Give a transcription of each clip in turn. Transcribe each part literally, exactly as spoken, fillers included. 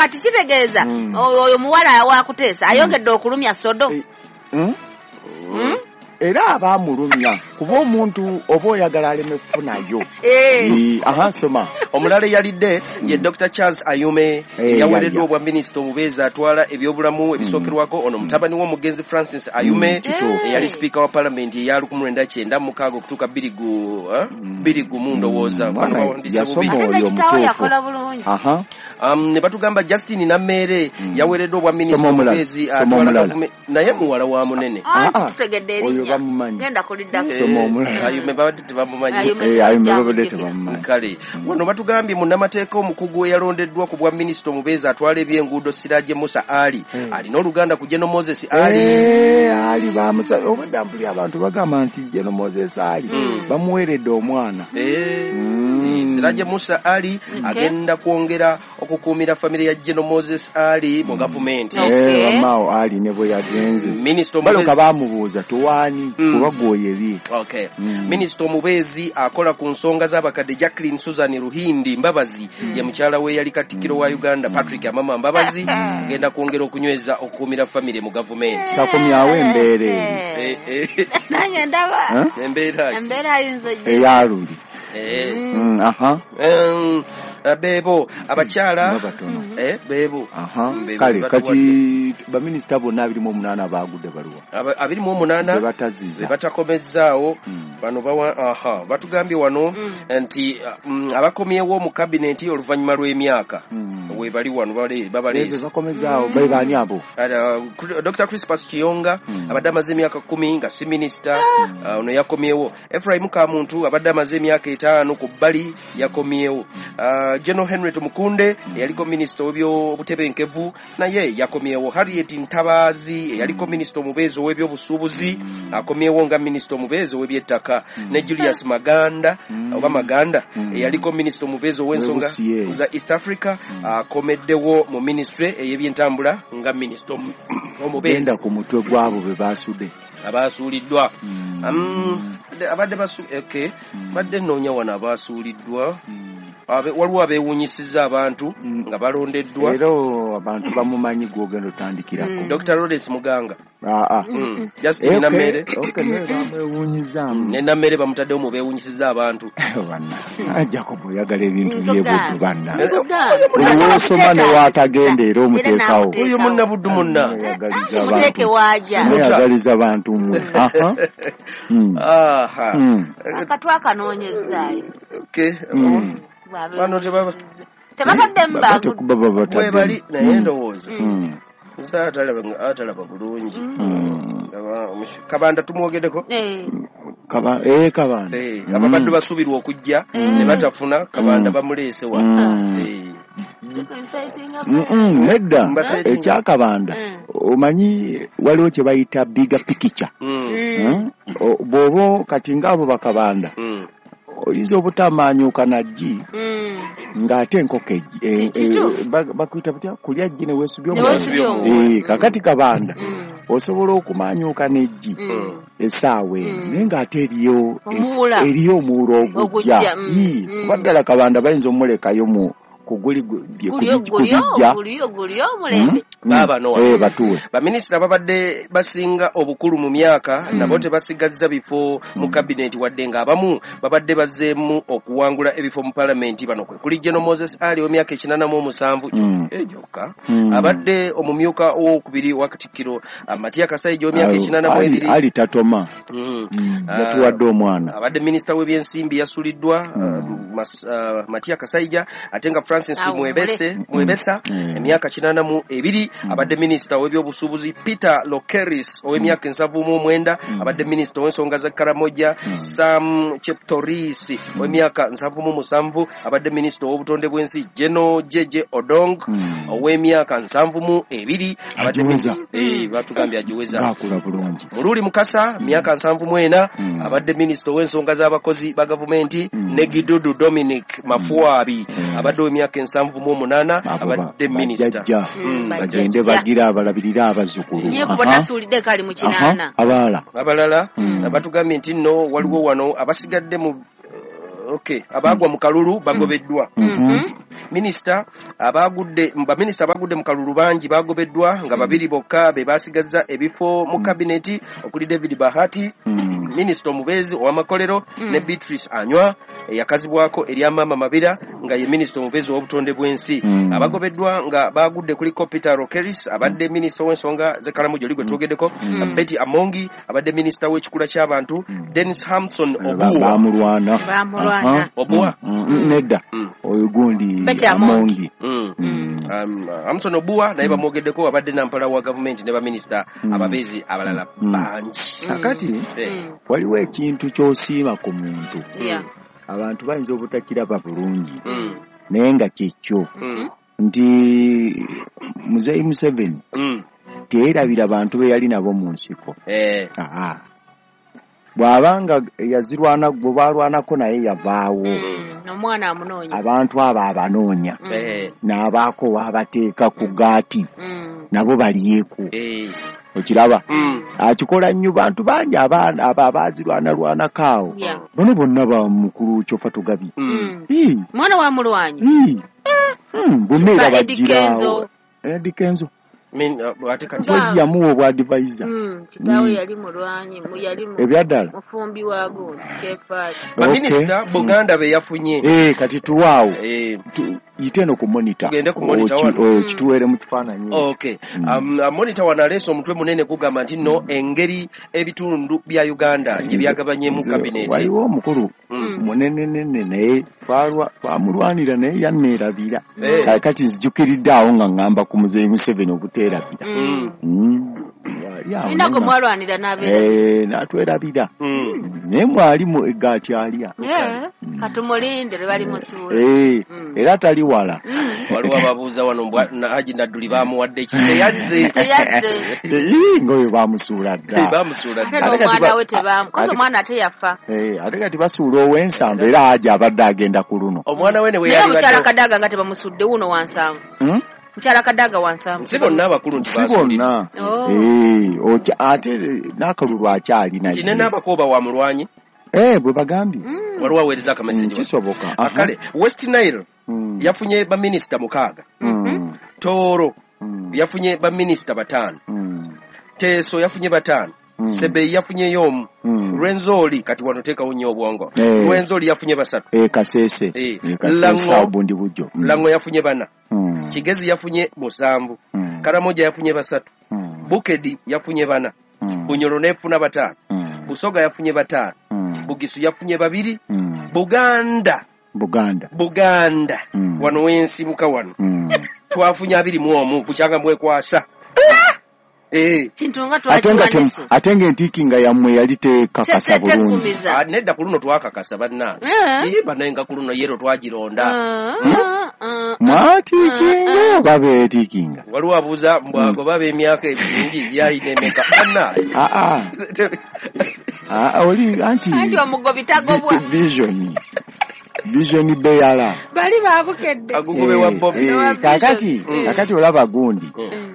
Kati kitegeeza oyo muwala wa Kuteesa ayongedde okulumya Sodo. Era abamulumya kuba omuntu oba oyagala aleme kufunayo. Aha, soma. Omulala yalidde ye Doctor Charles Ayume, yawereddwa obwa minisita omubeezi atwala ebyobulamu ebisookerwako. Ono mutabani w'omugenzi Francis Ayume eyali sipiika wa palamenti eya lukumi lwenda kyenda mu mukaaga okutuuka bbiri gumu ndowooza. Ne batugamba Justin Namere yawereddwa obwa minisita omubeezi atwala naye muwala wa Munene. Oyo bamumanyi. Genda kuliddako. Ayume babadde tebamumanyi. Ayume babadde tebamumanyi. Kale wano batugambye munnamateeka omukugu eyalondeddwa ku bwa minisita omubeezi atwala ebyenguudo Siraje Musa Ali alina oluganda ku General Moses Ali. Ali bamusa obadde mpuli abantu bagamba nti General Moses Ali bamuweredde omwana. Siraje Musa Ali agenda kwongera okukuumira famire ya General Moses Ali mu gavumenti. Wamaawo Ali ne bwe yagenze. Baloka bamubuuza tuwaani kuba gwoyebye. Minisita omubeezi akola ku nsonga z'abakadde Jacqueline Susan Ruhindi Mbabazi ye mukyala we yali katikkiro wa Uganda Patrick Amama Mbabazi agenda kwongera okunyweza okukuumira famire mu gavumenti. Takomyawo embeera eyo. Nange ndaba embeera embeera ayinza eyaluli. Aha. Bebo abakyala eh bebo. Kale kati baminisita bonna abiri mu omunaana baagudde baluwa. Abiri mu omunaana bataziza batakomezzaawo bano bawa aha batugambye wano nti abakomyewo mu kabineti oluvannyuma lw'emyaka we bali wano bale babaleese bakomezzaawo be baani abo. Doctor Crispus Kiyonga abadde amaze emyaka kkumi nga si minisita, ono yakomyewo. Ephraim Kamuntu abadde amaze emyaka etaano ku bbali yakomyewo. General Henry Tumukunde eyaliko minisita w'ebyobutebenkevu naye yakomyewo. Harriet Ntabazi eyaliko minisita omubeezi ow'ebyobusuubuzi akomyewo nga minisita omubeezi ow'ebyettaka, ne Julius Maganda oba Maganda eyaliko minisita omubeezi ow'ensonga za East Africa akomeddewo mu minisitule ey'ebyentambula nga minisita omubeezi. Genda ku mutwe gwabo be baasudde abaasuuliddwa. Abadde basu okay badde nnoonya wano abaasuuliddwa. Waliwo abeewuunyisizza abantu nga balondeddwa. Era abantu bamumanyi gw'ogenda otandikirako. Doctor Lawrence Muganga. Justin Namere. Ne Namere bamutaddewo mu beewuunyisizza abantu. Jacob oyagala ebintu by'ebuddu banna. Buli w'osoma ne w'atagenda era omuteekawo. Oyo munnabuddu munna. Muteeke waajja. Mweyagaliza abantu mmwe. Aha. Akatwa akanoonyezaayo. Okay. Bano tebaba tebataddemu bwe bali naye ndowooza nze atalaba bulungi. Kabanda tumwogeddeko. Kabanda ababadde basuubirwa okujja ne batafuna Kabanda bamuleese wa. Nedda ekyakabanda omanyi waliwo kye bayita bigger picture. Bw'oba kati ng'abo bakabanda oyinza obutamanyuka na ggi ng'ate enkoko bakuyita butya kulya ggi ne weesubya omuwala. Kakati Kabanda osobola okumanyuka n'eggi essaawa eno naye ng'ate eriyo eriyo omuwula ogujja. Kuba ddala Kabanda bayinza omulekayo mu kuguli kubijja batuwe. Baminisita babadde basinga obukulu mu myaka nabo tebasigazza bifo mu kabineti wadde ng'abamu babadde bazzeemu okuwangula ebifo mu palamenti. Bano kwe kuli General Moses Ali ow'emyaka ekinaana mu omusanvu gyokka abadde omumyuka owokubiri wa Katikkiro Matia Kasaija ow'emyaka ekinaana mu ebiri. Ali tatoma yatuwadde omwana. Abadde minisita w'ebyensimbi yasuliddwa Matia Kasaija, ate nga Francis Mwebese Mwebesa emyaka kinaana mu ebiri abadde minisita w'ebyobusuubuzi. Peter Lokeris ow'emyaka ensanvu mu omwenda abadde minisita ow'ensonga za Karamoja. Sam Cheptoris ow'emyaka nsanvu mu musanvu abadde minisita ow'obutonde bw'ensi. General Jeje Odong ow'emyaka nsanvu mu ebiri abadde batugambye agiweza. Mululi Mukasa myaka nsanvu mu ena abadde minisita ow'ensonga z'abakozi ba gavumenti. Ne Gidudu Dominic Mafuabi abadde ow'emyaka ensanvu mu omunaana abadde minisita. Bagende bagira abalabirira abazzukulu. Abalala abalala batugambye nti nno waliwo wano abasigadde mu okay abagwa mu kalulu bagobeddwa. Minisita abagudde baminisita abagudde mu kalulu bangi bagobeddwa nga babiri bokka be basigazza ebifo mu kabineti okuli David Bahati, minisita omubeezi ow'amakolero, ne Beatrice Anywa eyakazibwako erya Mama Mabira nga ye minisita omubeezi ow'obutonde bw'ensi. Abagobeddwa nga bagudde kuliko Peter Rokeris abadde minisita w'ensonga z'e Karamoja oli gwe twogeddeko, Betty Amongi abadde minisita w'ekikula ky'abantu, Dennis Hamson Obua bamulwana bamulwana Obua nedda oyo gundi Amongi Hamson Obua naye bamwogeddeko abadde nampala wa gavumenti ne baminisita ababeezi abalala bangi. Kakati waliwo ekintu ky'osiima ku muntu abantu bayinza obutakiraba bulungi naye nga kyekyo nti Muzeeyi Museveni teyerabira bantu be yali nabo mu nsiko. Bw'abanga yazirwana gwe baalwanako naye yavaawo omwana amunoonya abantu abo abanoonya n'abaako waabateeka ku gaati nabo balyeku. Okiraba akikola nnyo bantu bangi abaana abo abaazirwanalwanako awo bano bonna ba mukulu Kyofa Tugabi mwana wa mulwanyi bonna era bagiraawo Eddy Kenzo ate yamuwa obwa advisor kitaawe yali mulwanyi yali ebyaddala mufumbi wa gundi kyefaali. Baminisita Buganda be yafunye kati tuwaawo yite no ku monitor tugende ku monitor wano kituwere mu kifaananyi. Okay monitor wano aleese omutwe munene gugamba nti nno engeri ebitundu bya Uganda gye byagabanyemu kabineti. Waliwo omukulu munenenene naye twamulwanira naye yanneerabira kati nzijukiridde awo nga ŋŋamba ku Muzeeyi Museveni obuteerabira. Nina gwe mwalwanira n'abeerabira n'atwerabira naye mwalimu eggaati alya katumulinde lwe bali musuula era tali wala. Waliwo ababuuza wano Haji Nadduli bamuwadde ki teyazze ng'oyo bamusuula dda bamusuula dda ate n'omwana we tebamukoze omwana ate yafa ate kati basuula ow'ensanvu era Haji abadde agenda ku luno omwana we ne we yali mukyala Kadaga nga tebamusudde wuno wansanvu mukyala Kadaga wansanvu si bonna abakulu nti si bonna ate n'akalulu akyalina nti ne n'abakooba wa mulwanyi bwe bagambye waliwo aweereza akameseji kisoboka. Kale West Nile yafunye baminisita mukaaga, Tooro yafunye baminisita bataano, Teso yafunye bataano, Sebei yafunyeyo omu, Rwenzori kati wano teekawo nnyo obwongo, Rwenzori yafunye basatu, Kasese Bundibugyo Lango yafunye bana, Kigezi yafunye musanvu, Karamoja yafunye basatu, Bukedi yafunye bana, Bunyoro nefuna bataano, Busoga yafunye bataano, Bugisu yafunye babiri, Buganda Buganda Buganda wano wensibuka wano twafunye abiri mu omu kukyanga mwekwasa kintu nga twagiwanise ate ng'entiiki nga yammwe yali tekakasa bulungi. Nedda ku luno twakakasa bannange banaye nga ku luno yero twagironda mwatiikinga oba beetiikinga. Waliwo abuuza mbwago baba emyaka emingi byalina emeka bannange oli anti anti omugobi tagobwa vision vision beyala bali babukedde agugobe wa Bobi kakati kakati olaba gundi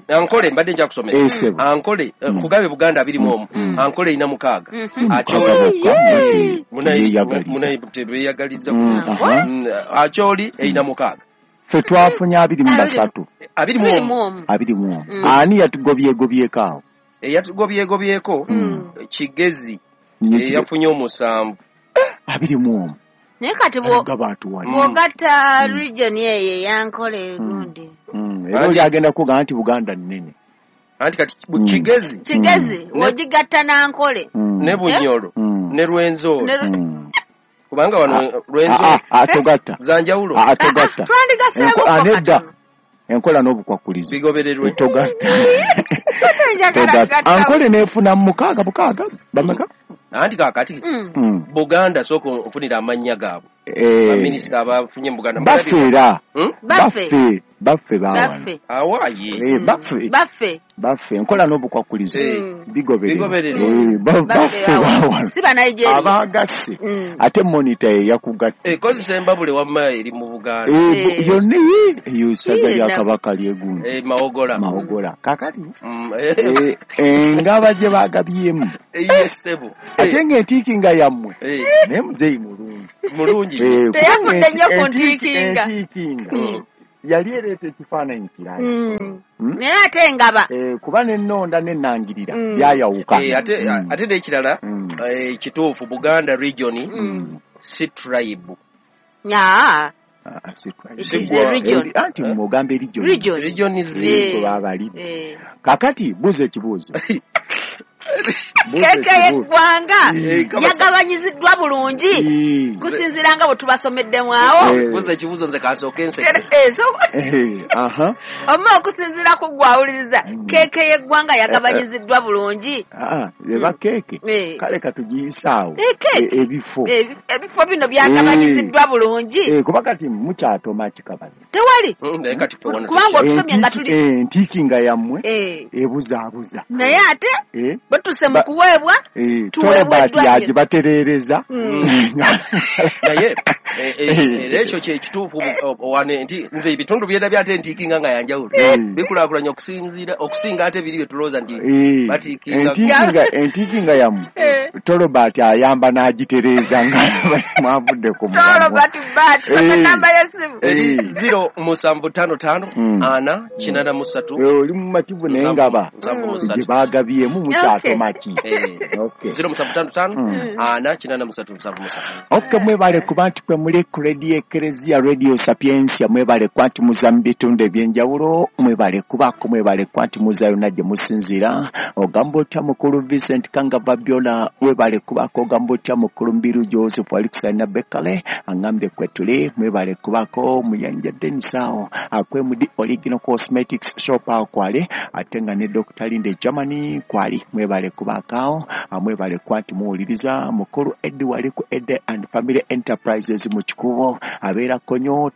Ankole mbadde nja kusomesa Ankole kugabe Buganda abiri mu omu Ankole ina mukaaga Acholi munayi tebeyagaliza Acholi ina mukaaga ffe twafunye abiri mu basatu abiri mu omu abiri mu omu ani yatugobyegobyeko awo eyatugobyegobyeko Kigezi yafunye omusanvu abiri mu omu naye kati bw'ogatta region eyo eyankole gundi era oli agenda kugamba nti Buganda nnene anti kati Kigezi Kigezi ogigatta n'Ankole ne Bunyoro ne Rwenzori kubanga wano Rwenzori atogatta za njawulo atogatta twandigaseemu nedda enkola n'obukwakulizo bigobererwe togatta Ankole neefuna mukaaga bukaaga bameka anti kaakati Buganda sooka ofunira amannya gaabwe baminisita abafunye mu Buganda baffe era baffe baffe baawano awaaye baffe baffe baffe enkola n'obukwakulizo bigobererwe baffe baawano si Banigeria abagasse ate monitor ye yakugatta ekozesa embabule wamma eri mu Buganda yonna eyo ssaza lya Kabaka lyegundi Mawogola Mawogola kakati engaba gye baagabyemu ye ssebo ate ng'entiiki nga yammwe naye muzeeyi mulungi Mulungi. Teyafudde nnyo ku ntiikinga. Yali ereeta ekifaananyi kirala. Naye ate engaba. Kuba n'ennonda n'ennangirira byayawuka. Ate n'ekirala kituufu Buganda region si tribe. Aa. Anti mugambe region. Region zi. Kakati buuza ekibuuzo. Keeke y'eggwanga yagabanyiziddwa bulungi kusinziira nga bwe tubasomeddemu awo. Buuza ekibuuzo nze kansooke nseke. Oba okusinziira ku ggwe awuliriza keeke y'eggwanga yagabanyiziddwa bulungi. Eba keeke kale katugiyise awo ebifo. Ebifo bino byagabanyiziddwa bulungi. Kuba kati mukyatoma kikabazi. Tewali. Kubanga otusomye nga tuli. Entiikinga yammwe ebuzaabuza. Naye ate batuse mu kuweebwa tuweebweddwa yagibatereereza. Naye era ekyo kye kituufu nti nze ebitundu byendabye ate ntiikinga nga yanjawulo bikulaakulanya okusinziira okusinga ate biri bye tulowooza nti batiikinga. Entiikinga yammwe Tolobati ayamba n'agitereeza nga mwavudde ku mulamwa. Tolobati bat soma namba y'essimu zero musanvu ttaano ttaano ana kinaana mu ssatu. Oli mumativu naye ngaba gye baagabyemu mukyasoma ki. Zero musanvu ttaano ttaano ana kinaana mu ssatu musanvu mu ssatu. Okay, mwebale kuba nti kwe muli ku Radio Eklezia, Radio Sapientia, mwebale kuba nti muza mu bitundu ebyenjawulo, mwebale kubaako, mwebale kuba nti muza yonna gye musinziira. Ogamba otya mukulu Vincent Kanga Babiola, mwebale kubaako. Ogamba otya mukulu Mbiru Joseph Alexander Bekale, angambye kwe tuli, mwebale kubaako. Muyanja Dennis awo akwemudi Original Cosmetics Shop awo kwali, ate nga ne Doctor Linde Germany kwali, mwebale kubaako awo, mwebale kuba nti muwuliriza. Mukulu Eddie wali ku Eddie and Family Enterprises mu Kikubo abeera Konyo,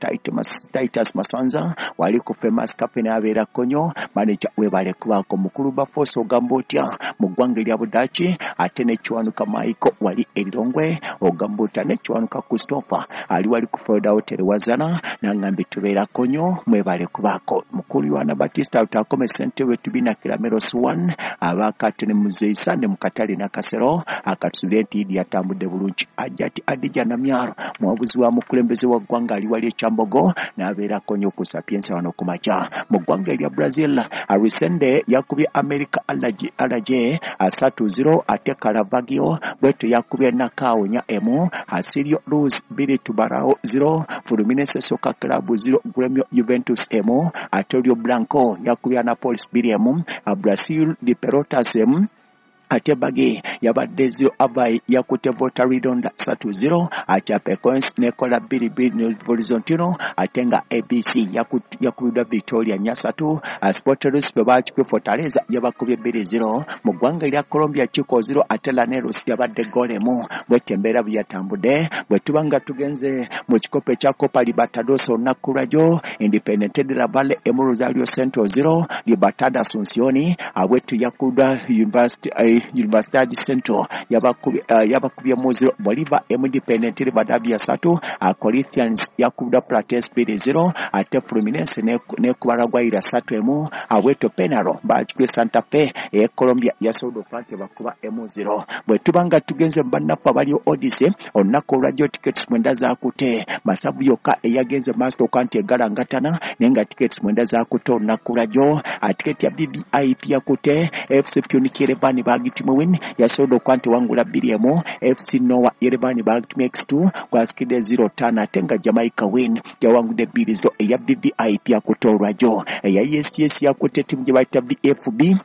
Titus Masanza wali ku Famous Company abeera Konyo, manager webale kubaako. Mukulu Bafoso ogamba otya mu ggwanga erya Budaaki, ate ne Kiwanuka Michael wali Erirongwe, ogamba otya ne Kiwanuka Christopher ali wali ku Florida Hotel Wazana, nangambye tubeera Konyo, mwebale kubaako. Mukulu Yohana Batista Lutakome ssentebe Tubina Kiramero Swan abaakate ne Muzeeyi Sande mu katale Nakasero akatusubire nti Idi yatambudde bulungi. Ajati Adija Namyaro muwabuzi wa mukulembeze wa ggwanga ali wali Ekyambogo n'abeera Konyo ku Sapientia wano ku makya. Mu ggwanga erya Brazil Arisende yakubye America Alaje asatu zero, ate Caravaggio bwetyo yakubye Nakao nya emu, Asirio Luz bbiri Tubarao zero, Fluminense Soccer Club zero, Gremio Juventus emu, ate Rio Blanco yakubye Anapolis bbiri emu, Brasil de Pelotas emu, ate Bage yabadde zero, Avai yakutte Volta Redonda satu zero, ate Chapecoense nekola bbiri bbiri ne Horizontino, ate nga A B C yakubiddwa Victoria nnya ssatu, Sporteros bwe bakikubye Fortaleza yabakubye bbiri zero. Mu ggwanga erya Colombia Chico zero, ate Laneros yabadde goal emu. Bwetyo embeera bwe yatambudde. Bwe tuba nga tugenze mu kikopo ekya Copa Libertadores olunaku lwajjo, Independiente de la Valle emu, Rosario Central zero, Libertad Asuncion abwetyo yakubiddwa University Universidad Central yabakubye mu zero, Bolivar emu, Independiente Rivadavia ssatu, Corinthians yakubiddwa Platense bbiri zero, ate Fluminense n'ekuba La Guaira ssatu emu, abwetyo Penaro bakikubye Santa Fe e Colombia yasobodde okuba nti bakuba emu zero. Bwe tuba nga tugenze mu bannaffe abali Odyssey olunaku olwajjo tickets mwenda zaakute, Masavu yokka eyagenze maaso okuba nti egalangatana naye nga tickets mwenda zaakute olunaku lwajjo. Tiketi ya V V I P yakute F C Pyunik Yerevan bagitumye win yasobodde okuba nti wangula bbiri emu, F C Noah Yerevan bagitumye X two gwasikidde zero ttaano, ate nga Jamaica win yawangudde bbiri zero. Eya V V I P yakute olwajjo. Eya S S yakute ttiimu gye bayita V F B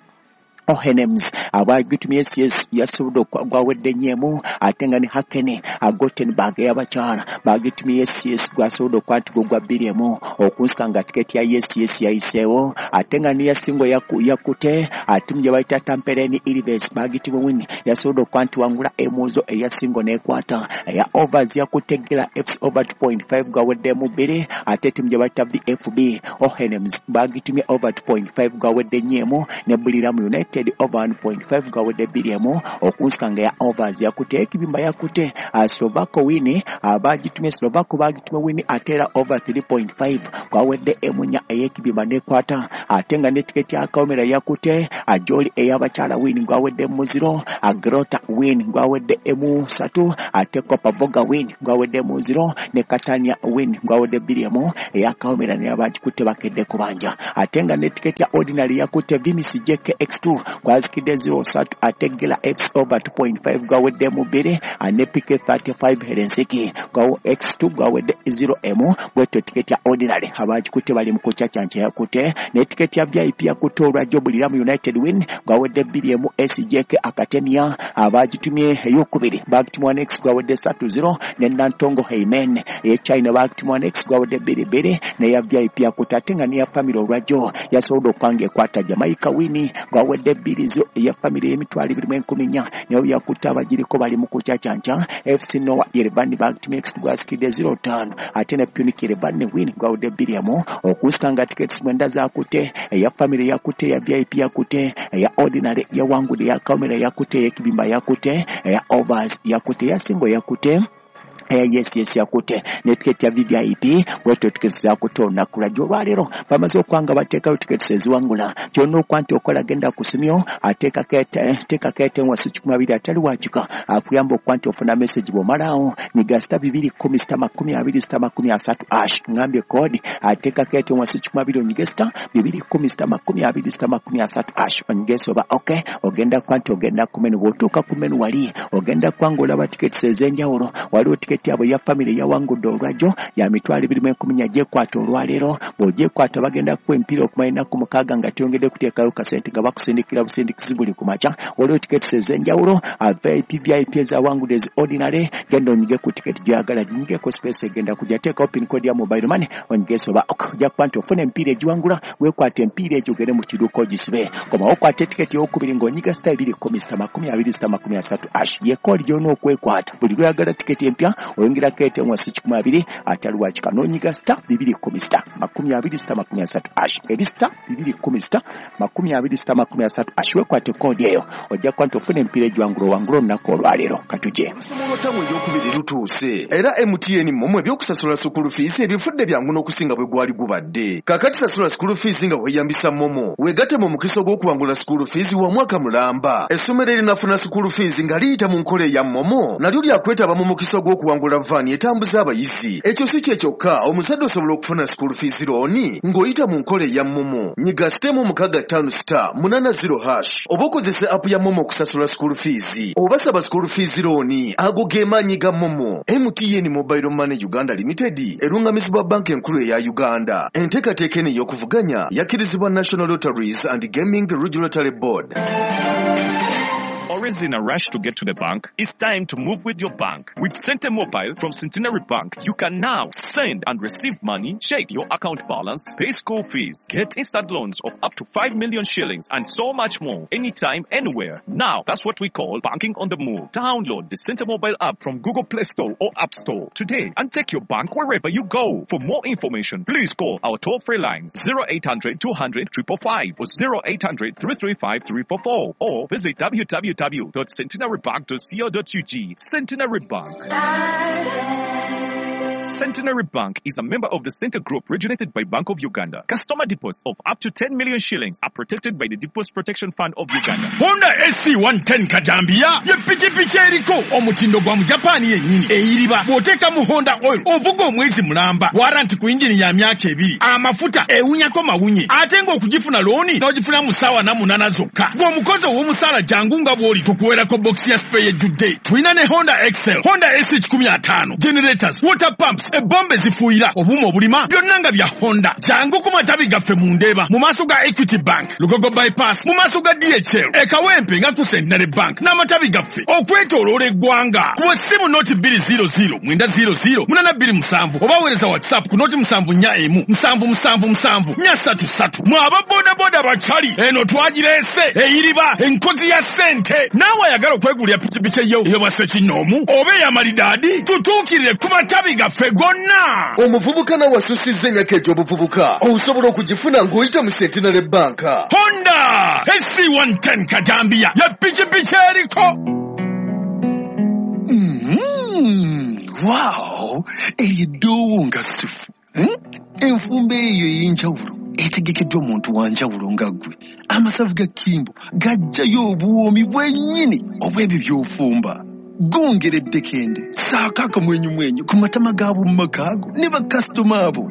Ohenems abagitumye S S yasobodde gwawedde nnyo emu, ate nga ne Hakene Gothenburg ey'abakyala bagitumye S S gwasobodde okuba nti gwa bbiri emu, okunsika nga tiketi ya S S yayiseewo, ate nga ne Yasingo yakute ttiimu gye bayita Tampereni Ilves bagitumye win yasobodde okuba nti wangula emuzo eyasingo n'ekwata. Eya overs yakute Gela F C over two point five gwawedde emu bbiri, ate ttiimu gye bayita V F B Ohenems bagitumye over two point five gwawedde nnyo emu, ne Buriram United over one point five gawedde bbiri emu, okunsika nga ya overs yakute ekibimba yakute Slovako wini abagitumye Slovako bagitumye wini ate era over three point five gwawedde emu nnya, ey'ekibimba nekwata ate nga ne tiketi ya Kawomera yakute Ajoli ey'abakyala win gwawedde muziro Agrota win gwawedde emu satu ate Kopa Boga win gwawedde muziro ne Katania win gwawedde bbiri emu eya Kawomera ne abagikutte bakedde kubanja ate nga ne tiketi ya Ordinary yakute Vimisi J K X two gwazikidde zero satu ate Gela X over two point five gwawedde mu bbiri ane P K thirty-five Helsinki gwawo X two gwawedde zero emu bwetyo tiketi ya Ordinary abagikutte bali mu kucacanca yakute ne tiketi ya V I P yakute olwajjo Buliramu United win gwawedde bbiri emu S J K Akatemia abagitumye eyokubiri bagitumwa next gwawedde satu zero ne Nantongo Heimen e China bagitumwa next gwawedde bbiri bbiri ne ya V I P yakute ate nga ne ya family olwajjo yasobodde okwanga ekwata Jamaica win gwawedde bbiri zero ya family y'emitwalo ebiri mu enkumi nnya nayo yakute abagiriko bali mu kucacanca F C Noah Yerevan bagitumye next gwasikidde zero ttaano ate ne Punic Yerevan win gwawedde bbiri emu okusanga tickets mwenda zakute eya family yakute ya V I P yakute eya Ordinary yawangudde ya Kawomera yakute ey'ekibimba yakute eya Overs yakute ya Singo yakute yes yes yakute ne tiketi ya V I P bwetyo tiketi zakute olunaku lwajjo olwaleero bamaze okwanga bateekayo tiketi eziwangula kyonna okwa nti okola genda ku simyo ateekako etenwasi kikumi abiri atali wakika akuyamba okuba nti ofuna message bw'omalaawo nyiga sita bibiri kkumi sita makumi abiri sita makumi asatu ash ngambye koodi ateekako etenwasi kikumi abiri onyige sita bibiri kkumi sita makumi abiri sita makumi asatu ash onyige soba ok ogenda kuba nti ogenda ku menu bw'otuuka ku menu wali ogenda kuba ng'olaba tiketi ez'enjawulo waliwo tiketi yabwe ya family yawangudde olwajjo ya mitwalo ebiri mu enkumi nnya gyekwata olwaleero bw'ogyekwata bagenda kukuwa emipiira okumala ennaku mukaaga nga teyongedde kuteekayo kasente nga bakusindikira busindikizi buli ku makya waliwo tiketi ez'enjawulo V I P V I P ezawangudde ezi Ordinary genda onyige ku tiketi gy'oyagala ginyigeko space egenda kujja teekawo pin code ya mobile money onyige soba ok ojja kuba nti ofuna emipiira egiwangula weekwata emipiira egyo ogende mu kiduuka ogisibe komawo okwata etiketi ey'okubiri ng'onyiga sita ebiri kkumi sita makumi abiri sita makumi asatu ash ye koodi gy'olina okwekwata buli lw'oyagala tiketi empya oyongerako etenwasi kikumi abiri atali wakika n'onyiga sita bibiri kkumi sita makumi abiri sita makumi asatu ash eri sita bibiri kkumi sita makumi abiri sita makumi asatu ash weekwate koodi eyo ojja kuba nti ofuna emipiira egiwangula owangula olunaku olwaleero katujje. Olusomo lw'ettamu eryokubiri lutuuse era M T N MoMo ebyokusasula sukulu fiisi ebifudde byangu n'okusinga bwe gwali gubadde. Kaakati sasula sukulu fiisi nga weeyambisa MoMo weegatte mu mukisa ogw'okuwangula sukulu fiisi wa mwaka mulamba. Essomero erinafuna sukulu fiisi nga liyita mu nkola eya MoMo nalyo lyakwetaba mu mukisa ogw'okuwangula vaani etambuza abayizi. Ekyo si kye kyokka omuzadde osobola okufuna sukulu fiisi looni ng'oyita mu nkola eya MoMo. Nyiga sitemu mukaaga ttaano sita munaana zero hash oba okozese app ya MoMo okusasula sukulu fiisi oba saba sukulu fiisi looni. Ago ge maanyi ga MoMo. M T N Mobile Money Uganda Limited erungamizibwa banka enkulu eya Uganda. Enteekateeka eno ey'okuvuganya yakkirizibwa National Lotteries and Gaming Regulatory Board. Always in a rush to get to the bank? It's time to move with your bank. With Sente Mobile from Centenary Bank, you can now send and receive money, check your account balance, pay school fees, get instant loans of up to five million shillings, and so much more. Anytime, anywhere. Now, that's what we call banking on the move. Download the Sente Mobile app from Google Play Store or App Store today and take your bank wherever you go. For more information, please call our toll-free lines zero eight hundred two hundred five five five or zero eight hundred three three five three four four or visit w w w dot centenary bank dot co dot u g. Centenary Bank. Centenary Bank is a member of the Center Group regulated by Bank of Uganda. Customer deposits of up to ten million shillings are protected by the Deposit Protection Fund of Uganda. Honda S C one ten Kajambia ye pikipiki eriko omutindo gwa mu Japan yennyini eyiriba bw'oteeka mu Honda oil ovuga omwezi mulamba waranti ku injini ya myaka ebiri amafuta ewunyako mawunye ate ng'okugifuna looni n'ogifuna mu ssaawa na munaana zokka gw'omukozi ow'omusaala jangu nga bw'oli tukuweerako box ya spare ejjudde. Tulina ne Honda Excel, Honda S C kikumi ataano, generators, water pumps, ebombe zifuuyira obuuma obulima byonna nga bya Honda. Jangu ku matabi gaffe mu Ndeeba mu maaso ga Equity Bank, Lugogo Bypass mu maaso ga D H L, e Kawempe nga ku Centenary Bank n'amatabi gaffe okwetooloola eggwanga. Kuba essimu noti bbiri zero zero mwenda zero zero munaana bbiri musanvu oba weereza WhatsApp ku noti musanvu nnya emu musanvu musanvu musanvu nnya ssatu ssatu. Mwe aba bodaboda bakyali eno twagireese eyiriba enkozi ya ssente. Naawe ayagala okwegulira pikipiki eyo ey'obwa ssekinnoomu oba ey'amalidaadi tutuukirire ku matabi gaffe gonna. Omuvubuka nawe asusizza emyaka egy'obuvubuka osobola okugifuna ng'oyita mu Centenary Bank. Honda S C one ten Kajambia ya pikipiki eriko. Mm, wow, eryo eddoowo nga sifu. Hmm? Enfumba eyo ey'enjawulo etegekeddwa omuntu wa njawulo nga ggwe. Amasavu ga Kimbo gajjayo obuwoomi bwennyini obw'ebyo by'ofumba. Gongera eddekende, ssaako akamwenyumwenyu ku matama g'ab'omu maka go ne bakasitoma abo.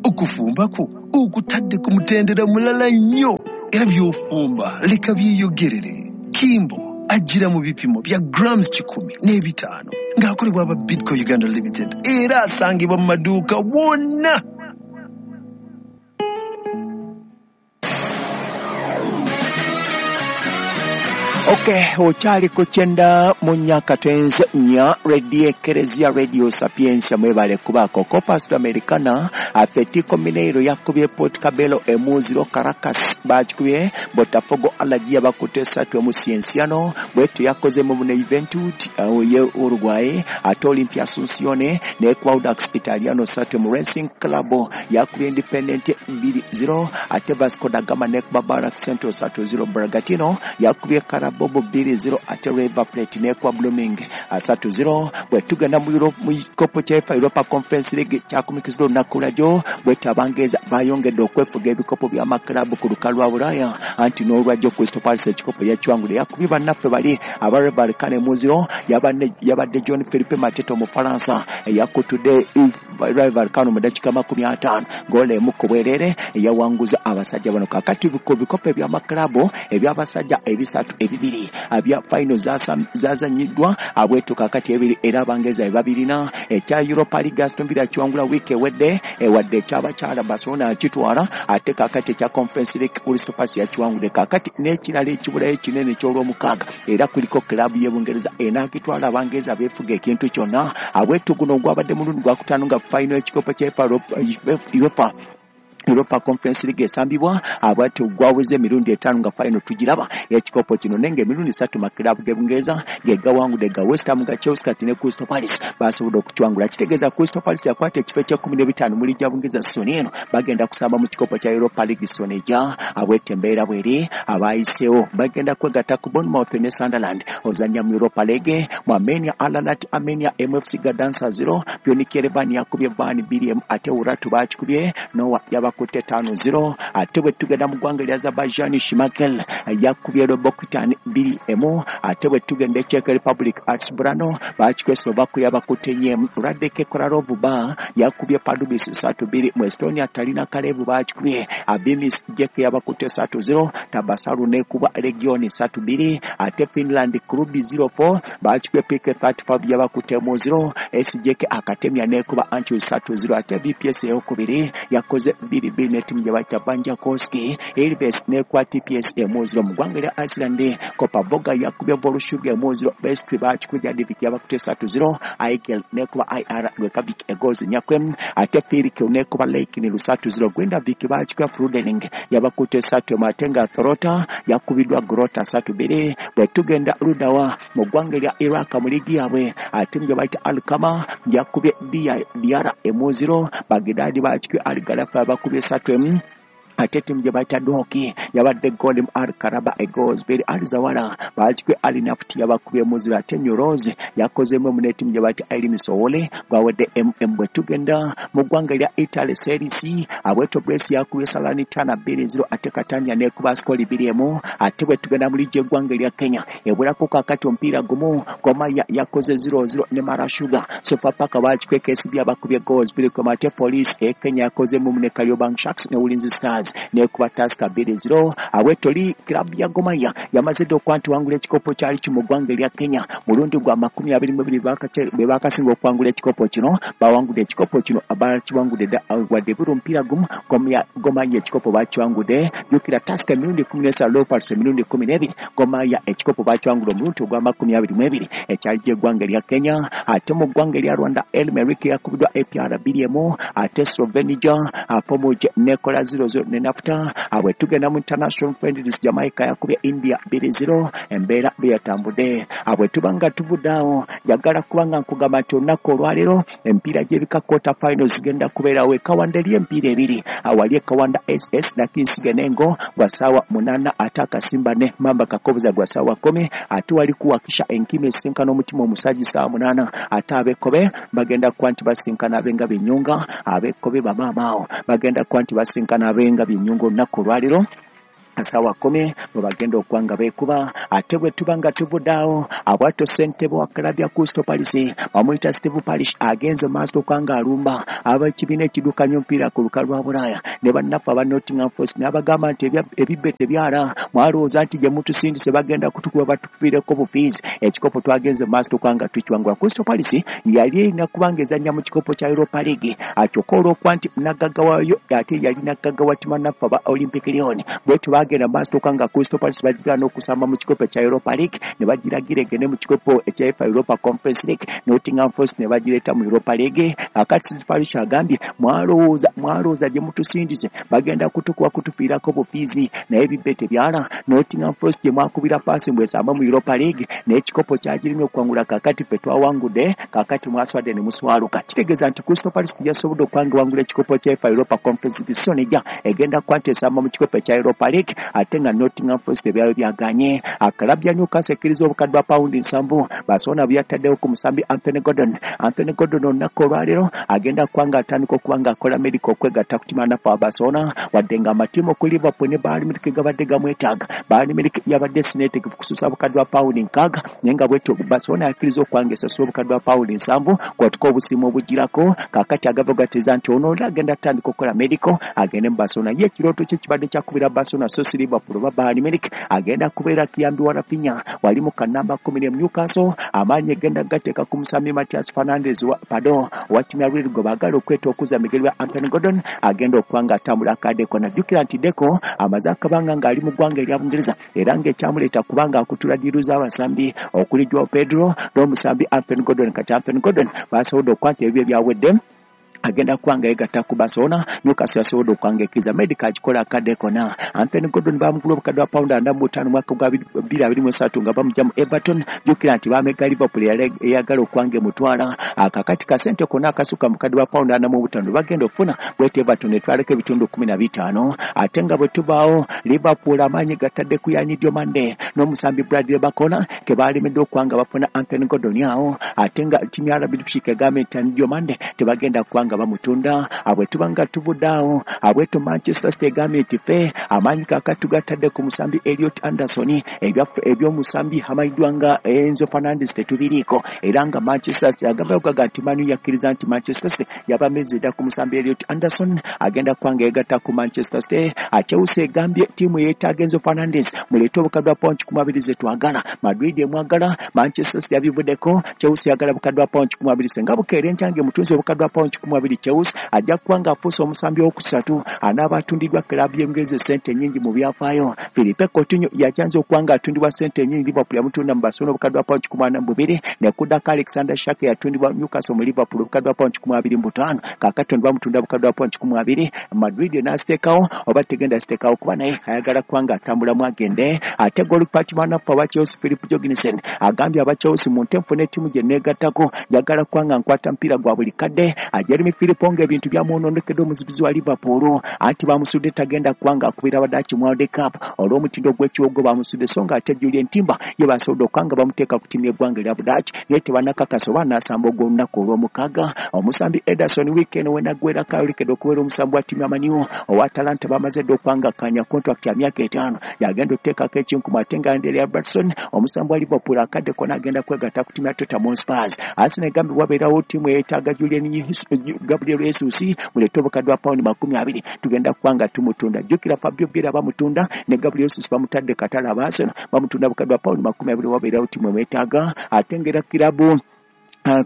Okufumba kwo okutadde ku mutendera mulala nnyo, era by'ofumba leka byeyogerere. Kimbo ajjira mu bipimo bya grams kikumi n'ebitaano ng'akolebwa aba Bidco Uganda Limited, era asangibwa mu maduuka wonna. Okay, okyali ku kyenda mu nnya katonze nnya Radio Ekereziya Radio Sapientia, mwebale kubaako. Copa Sudamericana, Atletico Mineiro yakubye Port Cabello emu zero, Caracas bakikubye Botafogo Alagia bakutte esatu emu Cienciano, bwetyo yakoze mu ne Juventud ye Uruguay, ate Olimpia Asuncion ne Audax Italiano satu emu, Racing Club yakubye Independente bbiri zero, ate Vasco da Gama nekuba Barak Central satu zero, Bragantino yakubye Karab Bobo bbiri zero, ate River Plate nekwa Blooming asatu zero. Bwe tugenda mu Europe mu kikopo kya UEFA Europa Conference League kyakumikizibwa olunaku lwajjo, bwetyo Abangereza bayongedde okwefuga ebikopo by'amakirabu ku lukalu lwa Bulaaya, anti n'olwajjo Crystal Palace ekikopo yakiwangudde, yakubye bannaffe bali aba Real emu zero, yabadde John Philippe Mateta Omufalansa eyakutudde Real Vallecano mu ddakiika makumi ataano, goolo emu ku bwereere eyawanguza abasajja bano. Kaakati ku bikopo eby'amakirabu eby'abasajja ebisatu ebibiri abya final zazanyiddwa abwetu kakati ebiri, era Abangereza ebabirina. Ekya Europa League Aston Villa kiwangula wiiki ewedde, ewadde ekyabakyala Barcelona yakitwala, ate kakati ekya Conference League Crystal Palace yakiwangudde. Kakati n'ekirala ekibulayo ekinene eky'olwomukaaga, era kuliko club y'e Bungereza enaakitwala, Abangereza beefuga ekintu kyonna. Abwetu guno gwabadde mulundi gwakutaano nga final ekikopo kya UEFA Europa Conference League esambibwa, abwati gwaweze emirundi etaano nga final tugiraba ekikopo kino, nenge emirundi esatu makirabu ge Bungereza ge gawangudde, ga West Ham, ga Chelsea kati ne Crystal Palace basobodde okukiwangula. Kitegeeza Crystal Palace yakwata ekifo eky'ekkumi n'ebitaano mu liigi ya Bungereza soni eno, bagenda kusamba mu kikopo kya Europa League soni ejja. Abwete embeera bweri, abayiseewo bagenda kwegatta ku Bournemouth ne Sunderland ozannya mu Europa League. Mu Armenia, Ararat Armenia M F C Gadansa zero, Pionik Yerevan yakubye Van bbiri emu, ate Urartu bakikubye Noah yaba kutte tano zero. Ate bwe tugenda mu ggwanga lya Azerbaijan, Shimakel yakubye Robokitan bbiri emu. Ate bwe tugenda e Czech Republic, Artsbrano bakikubye Slovakia yabakutte nnya emu. Radek Kolarov ba yakubye Pardubice satu bbiri. Mu Estonia, Talina Kalev bakikubye Abimis Jek yabakutte satu zero. Tabasaru nekuba Region satu bbiri. Ate Finland, Klubi zero four bakikubye P K thirty-five yabakutte mu zero. S J K Akatemia nekuba Anchus satu zero. Ate V P S eyokubiri yakoze bbiri bbiri ne ttiimu gye bayita Banjakoski. Ilves nekwa T P S emu zero. Mu ggwanga lya Iceland, Kopavoga yakubye Volshuga emu zero. Vestri bakikubye Jadivik yabakutte satu zero. Aigel nekuba I R Reykjavik egozi nyakwem. Ate Pirikil nekuba Leikni lusatu zero. Grindavik bakikubye Frudening yabakutte satu emu. Ate nga Throta yakubiddwa Grota satu bbiri. Bwe tugenda Ludawa mu ggwanga lya Iraq mu liigi yaabwe, ate gye bayita Alkama yakubye Diara emu zero. Bagdad bakikubye Al Galafa bakubye satu emu. Ate ttiimu gye bayita Doki yabadde goal mu Al Karaba egoals bbiri. Al Zawara bakikubye Al Naft yabakubye mu zero. Ate Nyoroz yakozeemu emu ne ttiimu gye bayita Elmi Sowole gwawedde M M. Bwe tugenda mu ggwanga lya Italy Serie C, Abweto Brescia yakubye Salernitana bbiri zero. Ate Catania nekuba Ascoli bbiri emu. Ate bwe tugenda mu liigi y'eggwanga erya Kenya ebwerako kaakati omupiira gumu, Gor Mahia yakoze zero zero ne Mara Sugar. Sofapaka bakikubye K C B abakubye goals bbiri ku emu. Ate Police e Kenya yakozeemu emu ne Kariobangi Sharks ne Ulinzi Stars nekuba Tusker bbiri zero. Awetoli club ya Gor Mahia yamaze dda okuba nti wangula ekikopo kyali ki mu ggwanga erya Kenya mulundi gwa makumi abiri mu ebiri bwe bakasinga okuwangula ekikopo kino. Bawangudde ekikopo kino bakiwangudde dda wadde buli omupiira gumu Gor Mahia ekikopo bakiwangudde. Jjukira Tusker emirundi kkumi n'esatu, Leopards emirundi kkumi n'ebiri. Gor Mahia ekikopo bakiwangudde omulundi ogwa makumi abiri mu ebiri ekyali gy'eggwanga erya Kenya. Ate mu ggwanga erya Rwanda, El Merreikh yakubiddwa A P R bbiri emu. Ate Slovenia Pomuje nekola zero zero ne Nafta. Abwe tugenda mu International Friendlies Jamaica yakubye India bbiri zero embeera beyatambudde. Abwe tubanga tuvudde awo, njagala kubanga nkugamba nti olunaku olwaleero emipiira gy'ebika quarter finals zigenda kubeerawo e Kawanda. Eri emipiira ebiri, awali e Kawanda S S na Kinsiga n'Engo gwa ssaawa munaana, ate Akasimba ne Mamba Kakobuza gwa ssaawa kkumi, ate wali kuwakisha Enkima esinkana Omutima Omusajja ssaawa munaana, ate ab'Ekkobe bagenda kuba nti basinkana ab'Engabi Ennyunga. Ab'Ekkobe bamaama awo bagenda kuba nti basinkana ab'Engabi Ennyunga olunaku olwaleero ssaawa kkumi bwe bagenda okuba nga beekuba. Ate bwe tuba nga tuvudde awo, abwatyo ssentebe wa club ya Crystal Palace bamuyita Steve Parish agenze maaso okuba nga alumba ab'ekibiina ekiddukanya omupiira ku lukalu lwa Bulaaya ne bannaffe aba Nottingham Forest, n'abagamba nti ebibbe tebyala, mwalowooza nti gye mutusindise bagenda kutukuba batufiireko bufiizi. Ekikopo twagenze maaso okuba nga tukiwangula. Crystal Palace yali erina kuba nga ezannya mu kikopo kya Europa League, kyokka olw'okuba nti nagagga waayo ate yali nagagga wa ttiimu naffe aba Olympic Lyon, bwetyo bagenda maaso okuba nga Crystal Palace bagigaana okusamba mu kikopo ekya Europa League ne bagiragira egende mu kikopo ekya UEFA Europa Conference League, Nottingham Forest ne bagireeta mu Europa League. Akati Steve Parish agambye mwalowooza mwalowooza gye mutusindise bagenda kutukuba kutufiirako bufiizi, naye ebibbe tebyala. Nottingham Forest gye mwakubira paasi mbwesamba mu Europa League n'ekikopo kyagirimye okuwangula, kaakati ffe twawangudde, kaakati mwaswadde ne muswaluka. Kitegeeza nti Crystal Palace yasobodde okuba nga ewangula ekikopo kya UEFA Europa Conference League, so nejja egenda kuba nti esamba mu kikopo ekya Europa League, ate nga Nottingham Forest ebyalo byaganye. Club ya Newcastle ekkiriza obukadde bwa pawundi nsanvu Barcelona bwe yataddewo ku musambi Anthony Gordon. Anthony Gordon olunaku olwaleero agenda kuba nga atandika okuba nga akola medical okwegatta ku ttiimu naffe aba Barcelona, wadde nga amatiimu ku Liverpool ne Bayern Munich gabadde gamwetaaga. Bayern Munich yabadde sineetegefu kususa obukadde bwa pawundi nkaaga, naye nga bwetyo Barcelona yakkiriza okuba nga esasula obukadde bwa pawundi nsanvu kwatuka obusimu obugirako. Kaakati agava gateeza nti ono oli agenda atandika okukola medical agende mu Barcelona. Ye ekirooto kye kibadde kyakubira Barcelona so si Liverpool oba Bayern Munich. Agenda kubeera kiyambi wa Rafinha wali mu kanamba kkumi ne Newcastle. Amaanyi egenda gateeka ku musambi Matias Fernandes wa pardon wa ttiimu ya Real gwe baagala okweta okuza migeri bya Anthony Gordon agenda okuba nga atambula akadeko. Najjukira nti Deco amaze akabanga ng'ali mu ggwanga erya Bungereza era ng'ekyamuleeta kubanga akutula ddiiru z'abasambi okuli Joao Pedro n'omusambi Anthony Gordon. Kati Anthony Gordon basobodde okuba nti ebyo byawedde, agenda kuba nga yegatta ku Barcelona. Newcastle yasobodde okuba nga ekkiriza medical agikola akadde konna. Anthony Gordon bamugula obukadde bwa pawundi ana mu butaano mwaka gwa bbiri abiri mu esatu nga bamugya mu Everton. Jjukira nti bamegga Liverpool eyagala okuba nga emutwala. Akakati kasente konna akasukka mu bukadde bwa pawundi ana mu butaano bagenda okufuna bwetyo Everton etwaleko ebitundu kkumi na bitaano. Ate nga bwe tubaawo Liverpool amaanyi gatadde ku Yanni Diomande n'omusambi Bradley Barcola ke baalemeddwa okuba nga bafuna Anthony Gordon awo. Ate nga ttiimu ya R B Leipzig egambye nti Yanni Diomande tebagenda kuba nga bamutunda. Abwe tubanga tuvudde awo, abweto Manchester City egambye nti ffe amaanyi kaakati tugatadde ku musambi Elliot Anderson, eby'omusambi amanyiddwa nga Enzo Fernandes tetubiriiko, era nga Manchester City agamba gaga nti Man U yakkiriza nti Manchester City yabameze dda ku musambi Elliot Anderson agenda kuba nga yegatta ku Manchester City. Chelsea egambye ttiimu yeetaaga Enzo Fernandes, muleete obukadde bwa pawundi kikumi abiri ze twagala. Madrid emwagala, Manchester City yabivuddeko, Chelsea yagala bukadde bwa pawundi kikumi abiri senga bukeera enkyange mutunzi obukadde bwa pawundi kikumi abiri Chelsea ajja kuba nga afuuse omusambi owokusatu anaaba atundiddwa club y'Engereza ssente nnyingi mu byafaayo. Philippe Coutinho yakyanze okuba nga atundibwa ssente nnyingi, Liverpool yamutunda mu Barcelona obukadde bwa pawundi kikumi ana mu bubiri, ne kuddako Alexander Isak yatundibwa Newcastle mu Liverpool obukadde bwa pawundi kikumi abiri mu butaano, kaakati ono bamutunda obukadde bwa pawundi kikumi abiri. Madrid n'asiteekawo oba tegenda siteekawo kuba naye ayagala kuba nga atambulamu agende. Ate goalkeeper mwanaffe aba Chelsea Philip Jorgensen agambye aba Chelsea mu nte nfune ettiimu gye neegattako njagala kuba nga nkwata mupiira gwa buli kadde. Jeremy Philippe ebintu byamwononekedde omuzibizi wa Liverpool anti bamusudde tagenda kuba nga akubira Abadaaki mu World Cup olw'omutindo gw'ekiwogo bamusudde, so nga ate Julian Timber ye basobodde okuba nga bamuteeka ku ttiimu y'eggwanga erya Budaaki, naye tebannakakasa oba anaasamba ogw'olunaku olw'omukaaga. Omusambi Ederson wiiki eno wenaggwerako ayolekedde okubeera omusambi wa ttiimu ya Man U owa Atalanta bamaze dda okuba nga akkaanya contract ya myaka etaano yagenda okuteekako ekinkumu. Ate nga Andrea Robertson omusambi wa Liverpool akadde konna agenda kwegatta ku ttiimu ya Tottenham Hotspur. Arsenal egambye wabeerawo ttiimu eyeetaaga Julian Gabriel Jesus muleete obukadde bwa pawundi makumi abiri tugenda kuba nga tumutunda. Jjukira Fabio Vieira bamutunda ne Gabriel Jesus bamutadde katale aba Arsenal bamutunda bukadde bwa pawundi makumi abiri wabeerawo ttiimu emwetaaga. Ate ng'era kirabu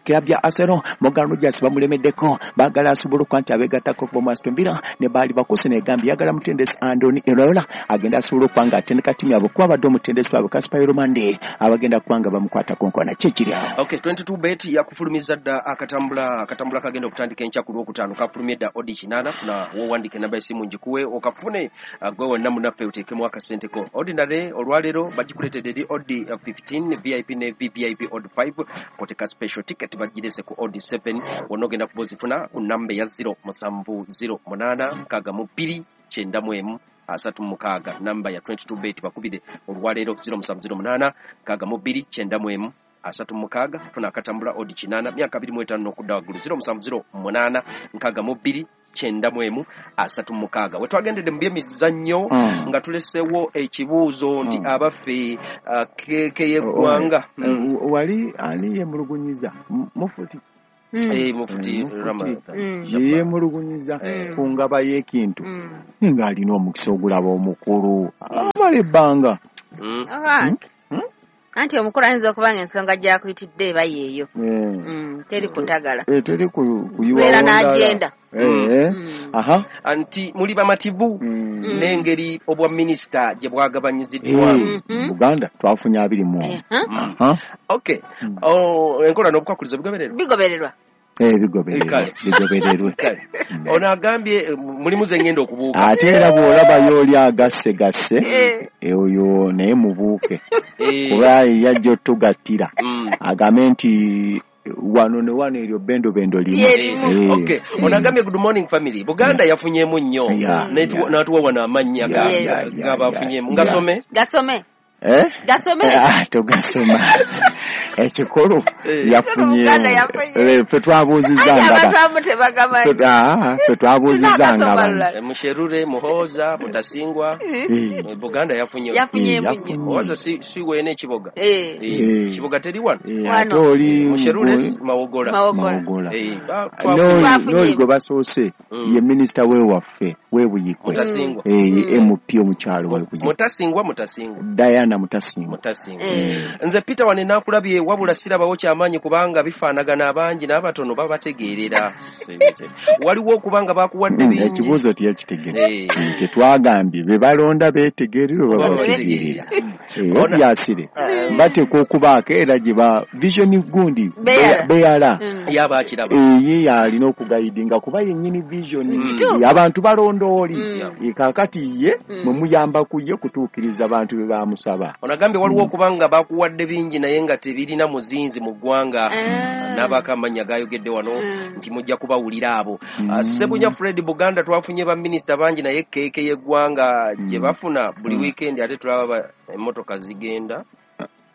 Club ya Arsenal Morgan Rogers bamulemeddeko baagala asobola okuba nti abeegattako okuva mu Aston Villa ne baali bakuse negambye yagala mutendesi Andoni Iraola agenda asobola okuba nga atendeka ttiimu yaabwe kuba abadde omutendesi waabwe Kasper Mande abagenda kuba nga bamukwatako nkona ki ekiri awo. Okay, twenty-two bet yakufulumiza dda akatambula akatambula kagenda okutandika enkya ku Lwokutaano kafulumye dda odi kinaana funa w'owandiika enamba y'essimu ngikuwe okafune gwe wonna munnaffe oteekemu akasente ko. Ordinary olwaleero bagikuleetedde eri odi fifteen V I P ne V V I P odi five koteka special ticket bagirese ku odi seven wonna ogenda kuba ozifuna ku namba ya zero musanvu zero munaana mukaaga mu bbiri kyenda mu emu asatu mukaaga namba ya twenty-two bet bakubire olwaleero zero musanvu zero munaana mukaaga mu bbiri kyenda mu emu asatu mukaaga funa akatambula odi kinaana myaka abiri mu etaano n'okudda waggulu zero musanvu zero munaana mukaaga mu bbiri kyenda mu emu asatu mukaaga. We twagendedde mu byemizannyo Mm. nga tulesewo ekibuuzo nti Mm. abaffe uh, keeke y'eggwanga Eh, wali ani yemulugunyiza M- mufuti Mm. Eh, mufuti Eh, mufuti. Ramadhan Mm. Shabba. yemulugunyiza Mm. ku ngaba y'ekintu Mm. naye ng'alina omukisa ogulaba omukulu amala ebbanga Mm. Abange. Mm? Anti omukulu ayinza okuba nga ensonga gy'akuyitidde eba yeeyo. Eh. Mm, teri kutagala. Eh, teri ku- kuyiwawo Beera ndala. n'agenda. Eh, Mm. aha. Anti muli bamativu Mm. Mm. n'engeri obwa minisita gye bwagabanyiziddwa. Eh, Mhm. Buganda twafunye abiri mu omu. Eh, huh? Mm. Aha. Okay. Mm. Oh, enkola n'obukwakkulizo bigobererwa? Bigobererwa. Eh, bigobererwa. Kale. Bigobererwe. Kale. Mm. Ono agambye eh, mulimu ze ngenda okubuuka. Ate era bw'olabayo oli agassegasse Eh. eh, oyo naye mubuuke Eh, kuba yajja otugattira mm. agambe nti wano ne wano eryo bendobendo limu. Ye limu. Eh. Okay. Ono agambye good morning family. Buganda yafunyeemu nnyo. Yeah, N'etuwa- yeah. N'atuwa wano amannya ga- Yeah, Yes. yeah, yeah, g'abafunyeemu. yeah. Ngasome? Gasome. Eh? Gasome. Ah, togasoma. Ekikulu Eh. Buganda yafunyeemu. yafunye. Eh, ffe twabuuzizza Anti nga abantu ba- abamu tebagamanyi. ffe- ah, ffe twabuuzizza nga Tunaakasoma bano. lulala. Eh, Musherure, Muhooza, Mutasingwa. Eh. Eh, Buganda yafunye. Yafunyeemu Eh, nnyo. yafunye. Muhooza si si weena ekiboga. Eh. Eh, Eh. Kiboga teri wano. Eh, Wano. ate oli Musherure gwe- Mawogola. Mawogola. Mawogola. Eh, ba- twafunye. N'oyo Twafunye. n'oyo gwe basoose Mm. ye minisita w'ewaffe w'ebuyikwe Mutasingwa. Eh, ye Mm. M P omukyalo w'ebuyikwe Mutasingwa, Mutasingwa. Diana Mutasingwa. Mutasingwa. Eh. Nze Peter wane nakulabye wabula sirabawo kyamaanyi kubanga bifaanagana abangi n'abatono babategeerera. Waliwo okubanga bakuwadde Mm, bingi. ekibuuzo teyakitegedde. Eh. Mm, tetwagambye be balonda beetegeerera oba Oba babategeerera. babategeerera. Eh, Ona- obyasire bateekwa okubaako era gye ba vision gundi Beyala. beyala Mm. Yaba akiraba. Eh, ye yalina okugayidinga kuba yennyini vision. Mm. Kituufu. Eh, abantu balonda oli. Mm. Eh, kaakati ye Mm. mwe muyamba ku ye kutuukiriza bantu be bamusaba. Ono agambye waliwo okubanga bakuwadde bingi naye nga tebirina muzinzi mu ggwanga. Ah. N'abaako amannya gayogedde wano Mm. nti mujja kubawulira abo. Mm. Ah, Ssebunya Fred Buganda twafunye baminisita bangi naye keeke y'eggwanga gye Mm. bafuna buli Mm. weekend ate tulaba ba- emmotoka zigenda.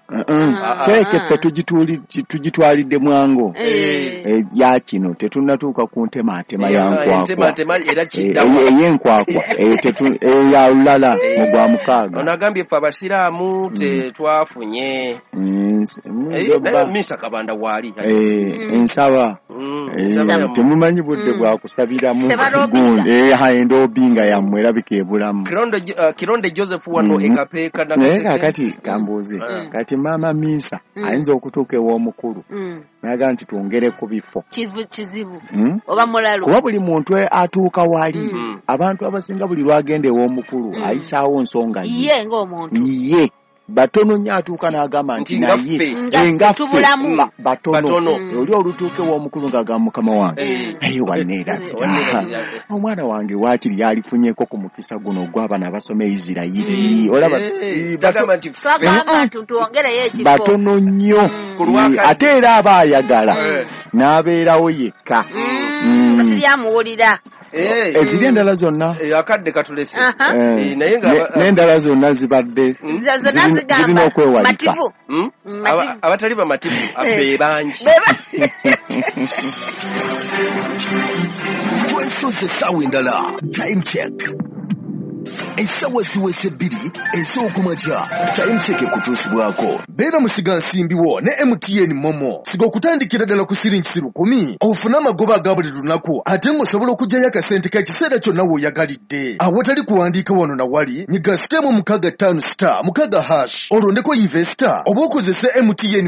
Uh-uh. Ah. Keeke ffe tugituuli- tugitwalidde mwango. Eh. Eh, ya kino tetunnatuuka ku ntematema ya Eh, nkwakwa. entematema era Eh, kiddawa. eh, ey'enkwakwa eh, tetu- eh, ya lulala mu gwa mukaaga. Ono agambye ffe abasiraamu tetwafunye. Mm, s- mm, Eh, njoba. naye Minsa Kabanda waali. Eh, Mm. ensaba. Mm, Eh, ensaba yammwe. temumanyi budde Mm. bwa kusabiramu Tebalobinga. gundi. Eh, ha, endobinga yammwe erabika ebulamu. Kironde uh, Kironde Joseph wano Mm. e Kapeeka Naye Nakaseke. kaakati kambuuze Mm. kati maama Minsa Mm. ayinza okutuuka ew'omukulu Mm. n'agamba nti twongere ku bifo. Kivu- kizibu Mm? oba mulalu. Kuba buli muntu atuuka wali Mm. abantu abasinga buli lwagenda ew'omukulu Mm. ayisaawo nsonga ye. Ye ng'omuntu. Ye batono nnyo atuuka n'agamba nti Nti nga naye ffe. Nga eh, nga ffe tubulamu. ba- batono Batono. Mm. oli olutuuka ew'omukulu ng'agamba mukama wange Eh. naye wanneerabira Wanneerabira. omwana wange waakiri yalifunyeeko ku mukisa guno ogw'abana abasoma e Isirayiri olaba Eh, eh, bato- tagamba nti ffe. Twagamba nti twongereyo ekifo. batono nnyo Mm. Ku lwakadde. Eh, ate era aba ayagala Eh. n'abeerawo yekka Mm. Nga teri amuwulira. Eh, eziri endala zonna eh, akadde katulese. Aha. eh, Eh, naye nga ne- aba- n'endala zonna zibadde Mm. Zo- Zonna zirina- zigamba zirina okwewalika. mativu. Mm? Mm, mativu. Aba- abatali bamativu Eh. be bangi. Beba. Twesoze essaawa endala. Time check. Essaawa ziweze bbiri ez'okumakya. Time check ekutuusibwako. Beera musigansimbi wo ne M T N Momo. Siga okutandikira ddala ku siringi lukumi ofune amagoba aga buli lunaku ate ng'osobola okuggyayo akasente k'ekiseera kyonna w'oyagalidde. Awatali kuwandiika wano na wali, nyiga sitemu mukaaga ttaano star mukaaga hash olondeko investor oba okozese M T N